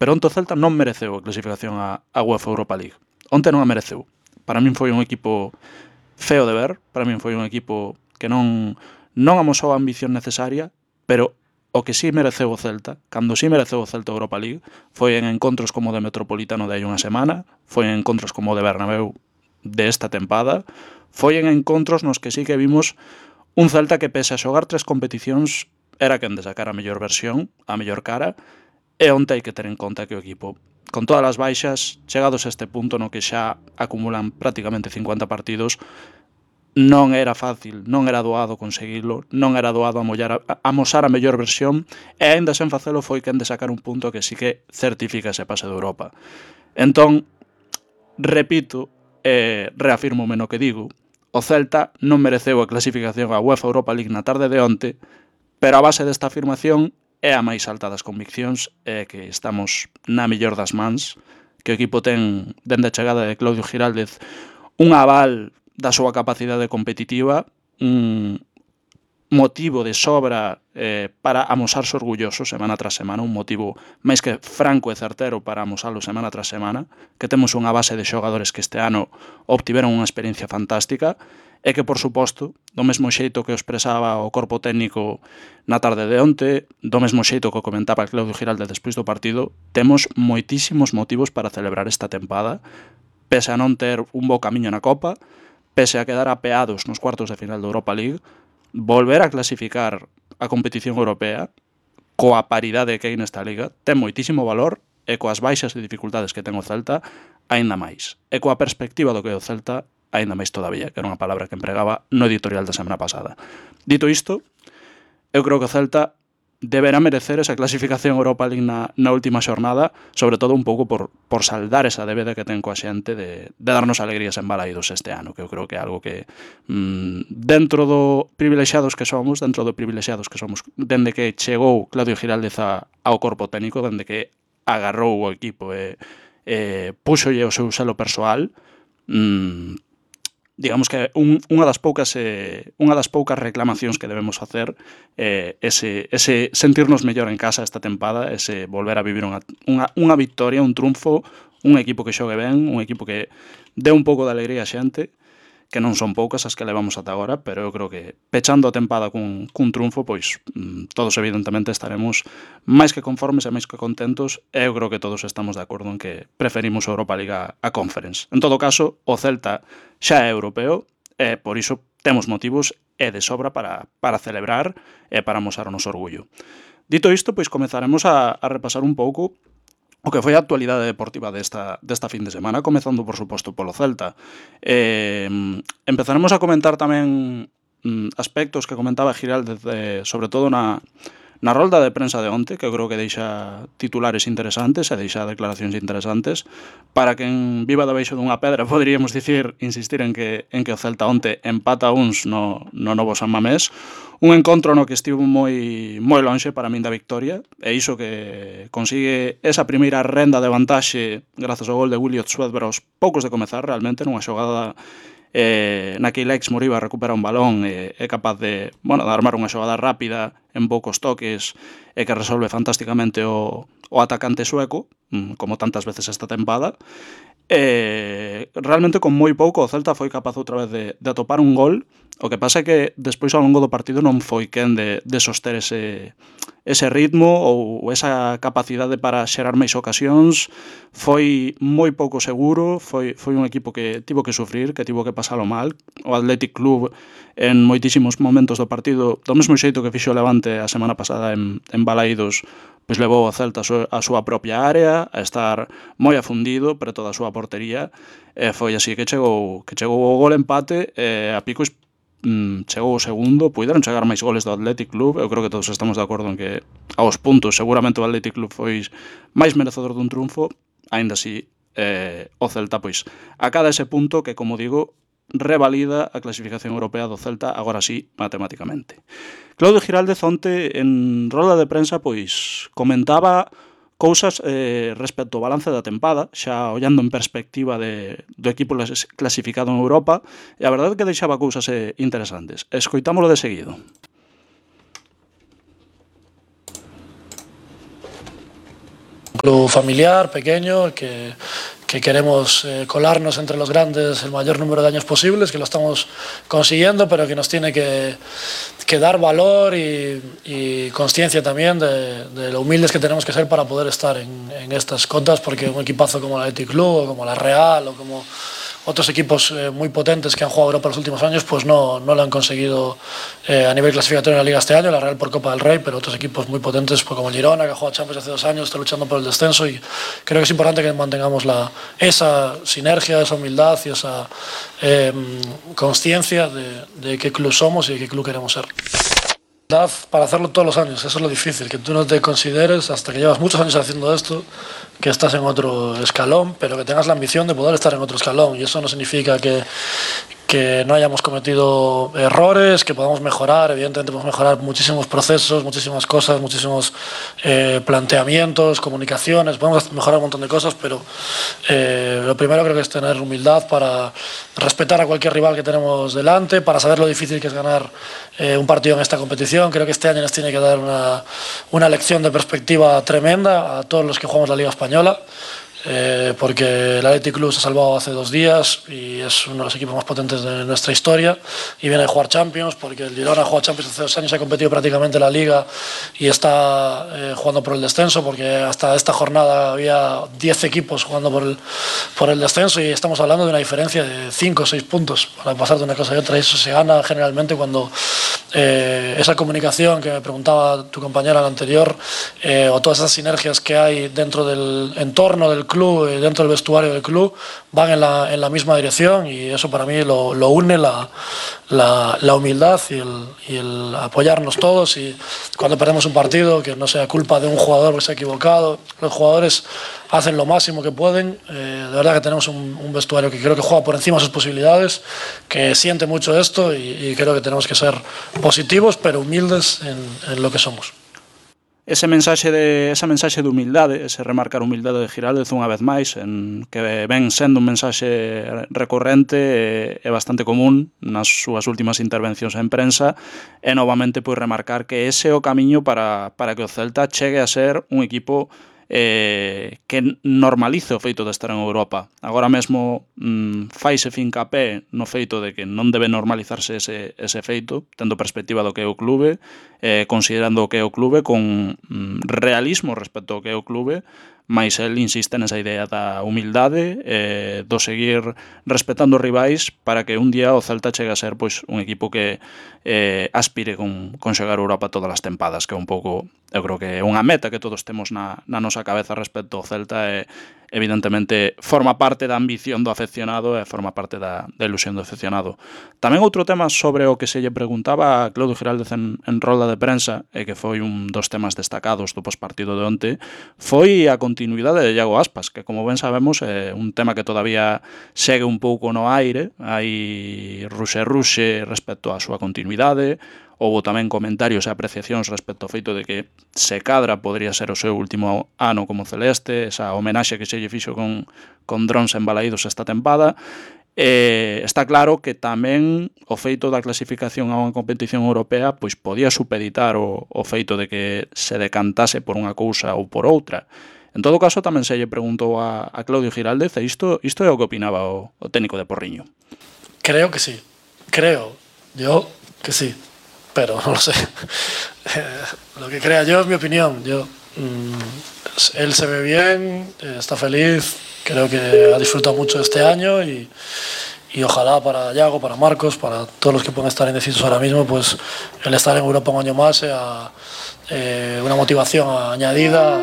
pero onte o Celta non mereceu a clasificación á UEFA Europa League. Onte non a mereceu. Para min foi un equipo feo de ver, para min foi un equipo que non amosou a ambición necesaria, pero o que sí mereceu o Celta, cando sí mereceu o Celta Europa League, foi en encontros como o de Metropolitano de hai unha semana, foi en encontros como o de Bernabéu de esta tempada, foi en encontros nos que sí que vimos un Celta que pese a xogar 3 competicións era quen de sacar a mellor versión, a mellor cara, e onte hai que ter en conta que o equipo, con todas as baixas, chegados a este punto no que xa acumulan prácticamente 50 partidos, non era fácil, non era doado conseguilo, non era doado amosar a mellor versión, e aínda sen facelo foi quen de sacar un punto que sí que certifica ese pase de Europa. Entón, repito e reafírmome no que digo, o Celta non mereceu a clasificación á UEFA Europa League na tarde de onte, pero a base desta afirmación é a máis alta das conviccións, é que estamos na mellor das mans, que o equipo ten, dende a chegada de Claudio Giraldez, un aval da súa capacidade competitiva, un motivo de sobra para amosarse orgulloso semana tras semana, un motivo máis que franco e certero para amosalo semana tras semana, que temos unha base de xogadores que este ano obtiveron unha experiencia fantástica e que, por suposto, do mesmo xeito que o expresaba o corpo técnico na tarde de onte, do mesmo xeito que o comentaba Claudio Giraldez despois do partido, temos moitísimos motivos para celebrar esta tempada, pese a non ter un bo camiño na Copa, pese a quedar apeados nos cuartos de final da Europa League, volver a clasificar a competición europea coa paridade que hai nesta liga ten moitísimo valor e coas baixas e dificultades que ten o Celta aínda máis. E coa perspectiva do que é o Celta aínda máis todavía, que era unha palabra que empregaba no editorial da semana pasada. Dito isto, eu creo que o Celta deberá merecer esa clasificación Europa League na última xornada, sobre todo un pouco por saldar esa débeda que ten coa xente de darnos alegrías en Balaídos este ano, que eu creo que é algo que dentro do privilexiados que somos, dende que chegou Claudio Giraldez ao corpo técnico, dende que agarrou o equipo e púxolle o seu selo persoal, digamos que unha das poucas reclamacións que debemos facer ese sentirnos mellor en casa esta tempada, ese volver a vivir unha victoria, un triunfo, un equipo que xogue ben, un equipo que dé un pouco de alegría a xente, que non son poucas as que levamos ata agora, pero eu creo que pechando a tempada cun triunfo, pois todos evidentemente estaremos máis que conformes e máis que contentos, e eu creo que todos estamos de acordo en que preferimos a Europa League a Conference. En todo caso, o Celta xa é europeo, e por iso temos motivos e de sobra para celebrar e para amosar o noso orgullo. Dito isto, pois comezaremos a repasar un pouco o que foi a actualidade deportiva desta fin de semana, comezando, por suposto, polo Celta. Empezaremos a comentar tamén aspectos que comentaba Giraldez, sobre todo na rolda de prensa de onte, que eu creo que deixa titulares interesantes e deixa declaracións interesantes. Para quen viva debaixo dunha pedra, poderíamos insistir en que o Celta onte empata uns no novo San Mamés, un encontro no que estivo moi lonxe para min da victoria, e iso que consigue esa primeira renda de vantaxe grazas ao gol de Williot Swedberg aos poucos de comezar, realmente nunha xogada na que Alex Moriba recupera un balón e é capaz de armar unha xogada rápida en poucos toques e que resolve fantásticamente o atacante sueco, como tantas veces esta tempada. Realmente con moi pouco o Celta foi capaz outra vez de atopar un gol. O que pasa é que despois ao longo do partido non foi quen de soster ese ritmo ou esa capacidade para xerar máis ocasións. Foi moi pouco seguro, foi un equipo que tivo que sufrir, que tivo que pasalo mal. O Athletic Club en moitísimos momentos do partido, do mesmo xeito que fixo o Levante a semana pasada en Balaídos, pois levou o Celta a súa propia área, a estar moi afundido preto da súa portería, e foi así que chegou o gol empate, e a pico chegou o segundo. Puideron chegar máis goles do Athletic Club, eu creo que todos estamos de acordo en que aos puntos seguramente o Athletic Club foi máis merecedor dun triunfo. Aínda así, o Celta pois acada ese punto que, como digo, revalida a clasificación europea do Celta, agora sí, matemáticamente. Claudio Giraldez onte en rolda de prensa pois comentaba cousas respecto ao balance da tempada, xa ollando en perspectiva do equipo clasificado en Europa, e a verdade é que deixaba cousas interesantes. Escoitámolo de seguido. club familiar, pequeño, que queremos colarnos entre los grandes el mayor número de años posibles, que lo estamos consiguiendo, pero que nos tiene que dar valor y consciencia también de lo humildes que tenemos que ser para poder estar en estas cotas, porque un equipazo como el Athletic Club o como la Real o como otros equipos muy potentes que han jugado Europa en los últimos años, pues no lo han conseguido a nivel clasificatorio en la Liga este año, la Real por Copa del Rey, pero otros equipos muy potentes, pues como el Girona, que ha jugado Champions hace 2 años, está luchando por el descenso, y creo que es importante que mantengamos esa sinergia, esa humildad y esa consciencia de qué club somos y de qué club queremos ser. Para hacerlo todos los años, eso es lo difícil, que tú no te consideres, hasta que llevas muchos años haciendo esto, que estás en otro escalón, pero que tengas la ambición de poder estar en otro escalón, y eso no significa que no hayamos cometido errores, que podamos mejorar. Evidentemente podemos mejorar muchísimos procesos, muchísimas cosas, muchísimos planteamientos, comunicaciones, podemos mejorar un montón de cosas, pero lo primero creo que es tener humildad para respetar a cualquier rival que tenemos delante, para saber lo difícil que es ganar un partido en esta competición. Creo que este año nos tiene que dar una lección de perspectiva tremenda a todos los que jugamos la Liga Española. Porque el Athletic Club se ha salvado hace 2 días y es uno de los equipos más potentes de nuestra historia y viene a jugar Champions, porque el Girona ha jugado Champions hace 2 años y ha competido prácticamente en la Liga y está jugando por el descenso, porque hasta esta jornada había 10 equipos jugando por el descenso, y estamos hablando de una diferencia de 5 o 6 puntos para pasar de una cosa a otra, y eso se gana generalmente cuando esa comunicación que me preguntaba tu compañera la anterior, o todas esas sinergias que hay dentro del entorno del club y dentro del vestuario del club van en la misma dirección, y eso para mí lo une la humildad y el apoyarnos todos, y cuando perdemos un partido que no sea culpa de un jugador que se ha equivocado. Los jugadores hacen lo máximo que pueden, de verdad que tenemos un vestuario que creo que juega por encima de sus posibilidades, que siente mucho esto, y creo que tenemos que ser positivos pero humildes en lo que somos. Esa mensaxe de humildade, ese remarcar a humildade de Giraldez unha vez máis, que ven sendo un mensaxe recorrente e bastante común nas súas últimas intervencións en prensa, e novamente pois remarcar que ese é o camiño para que o Celta chegue a ser un equipo que normalice o feito de estar en Europa. Agora mesmo faise fincapé no feito de que non debe normalizarse ese feito, tendo perspectiva do que é o clube, considerando o que é o clube, con realismo respecto ao que é o clube, mais el insiste nesa idea da humildade, do seguir respetando os rivais, para que un día o Celta chegue a ser pois un equipo que aspire con xogar Europa todas as tempadas, que é un pouco, eu creo que é unha meta que todos temos na nosa cabeza respecto ao Celta, e evidentemente forma parte da ambición do afeccionado e forma parte da ilusión do afeccionado. Tamén outro tema sobre o que se lle preguntaba a Claudio Giraldez en rolda de prensa, e que foi un dos temas destacados do pospartido de onte, foi a continuidade de Iago Aspas, que como ben sabemos é un tema que todavía segue un pouco no aire, hai ruxe respecto á súa continuidade. Houbo tamén comentarios e apreciacións respecto ao feito de que se cadra podría ser o seu último ano como celeste, esa homenaxe que se lle fixo con drons embalaídos esta tempada. Está claro que tamén o feito da clasificación a unha competición europea pois podía supeditar o feito de que se decantase por unha cousa ou por outra. En todo caso, tamén se lle preguntou a Claudio Giraldez, e isto é o que opinaba o técnico de Porriño. Creo que sí, yo que sí, pero no lo sé. Lo que crea yo es mi opinión. Él se ve bien, está feliz, creo que ha disfrutado mucho este año, y ojalá para Iago, para Marcos, para todos los que pueden estar indecisos ahora mismo, pues el estar en Europa un año más sea una motivación añadida.